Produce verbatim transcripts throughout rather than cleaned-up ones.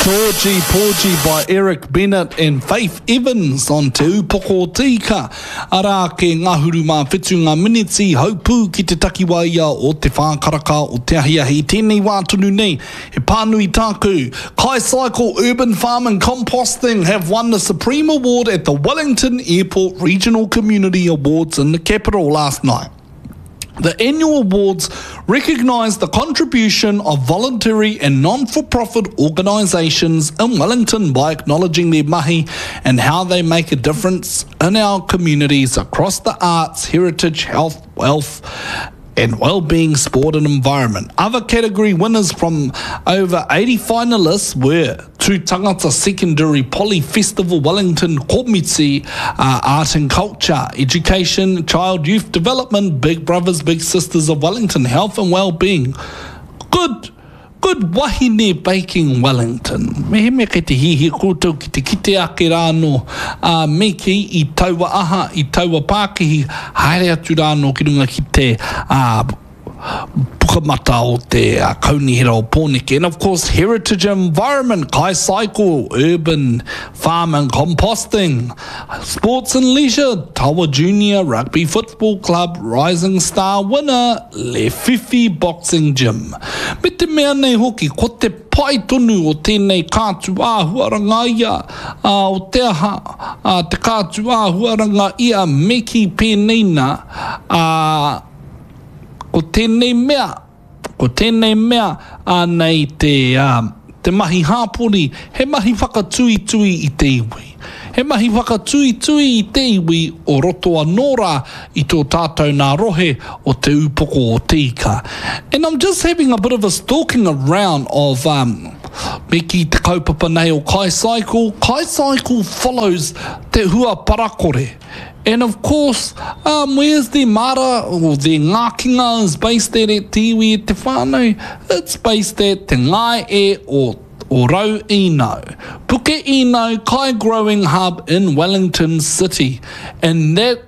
Georgie Porgy by Eric Bennett and Faith Evans on Te Upoko o Te Ika. Arā ke ngahuru mā whitu ngā miniti haupū ki te takiwā ia o te whā karaka o te ahiahi. Tēnei wā tonu nei, he pānui tāku. Kai Cycle Urban Farm and Composting have won the Supreme Award at the Wellington Airport Regional Community Awards in the capital last night. The annual awards recognise the contribution of voluntary and non-for-profit organisations in Wellington by acknowledging their mahi and how they make a difference in our communities across the arts, heritage, health, wealth, and well-being, sport and environment. Other category winners from over eighty finalists were Tūtangata Secondary Poly Festival Wellington Komiti, uh, Art and Culture, Education, Child Youth Development, Big Brothers Big Sisters of Wellington, Health and Wellbeing. Good Good Wahine Baking Wellington. Mehemea kei te hiahia koutou ki te kite ake rā anō a me kī i taua aha, i taua pākihi, haere atu rā anō ki runga ki te uh, pukamata o te uh, Kaunihera o Pōneke. And of course, Heritage Environment, Kai Cycle, Urban Farm and Composting, Sports and Leisure, Tawa Junior Rugby Football Club, Rising Star Winner, Le Fifi Boxing Gym. Me te mea nei hoki, ko te pai tonu o tēnei kātu āhuaranga ia, uh, o te aha, uh, te kātu āhuaranga ia me kī pēnei nā, uh, ko tēnei mea, ko tēnei mea anei te, uh, te mahi hāpori, he mahi whakatuitui i te iwi. He mahi whakatuitui i te iwi o roto anō rā i tō tātou nā rohe o Te Upoko o Te Ika. And I'm just having a bit of a stalking around of um, me kī te kaupapa nei o Kai Cycle. Kai Cycle follows te hua parakore. And of course, um, where's the mara or the ngākinga is based at at te iwi e te whānau? It's based at te ngae o o Rau Ino. Puke Ino Kai Growing Hub in Wellington City. And that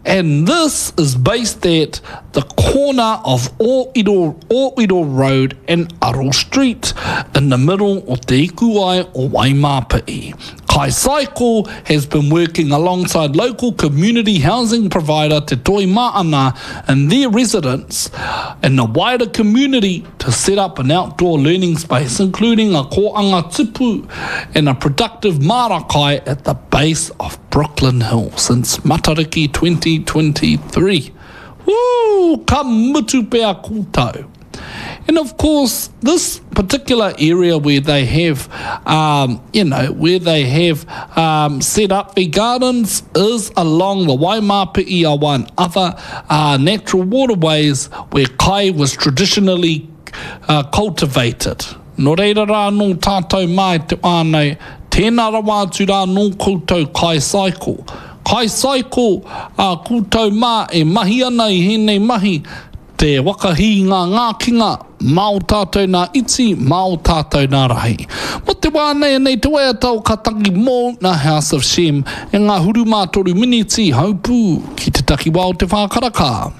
and this is based at the corner of Oiro, Oiro Road and Aro Street in the middle o Te Ikuai o Waimapi'i. Kai Cycle has been working alongside local community housing provider Te Toi Ma'ana and their residents and the wider community to set up an outdoor learning space, including a kōanga tupu and a productive marakai at the base of Brooklyn Hill since Matariki twenty twenty-three. Woo! Ka mutu pea koutou. And of course, this particular area where they have, um, you know, where they have um, set up their gardens is along the Waimapi'i awa and other uh, natural waterways where kai was traditionally uh, cultivated. Nō reira rā nō tātou mai te whānau, tēnā rawa atu rā nō koutou Kai Cycle. Kai Cycle, uh, koutou mā e mahi ana i hēnei mahi, te wakahi ngā ngākinga, mā o tātou nā iti, mā o tātou nā rahi. Mo te wā nei nei te waiata o Ka Tangi Mō nā House of Shem e ngā huru mā toru miniti haupū ki te takiwā o te whā karaka.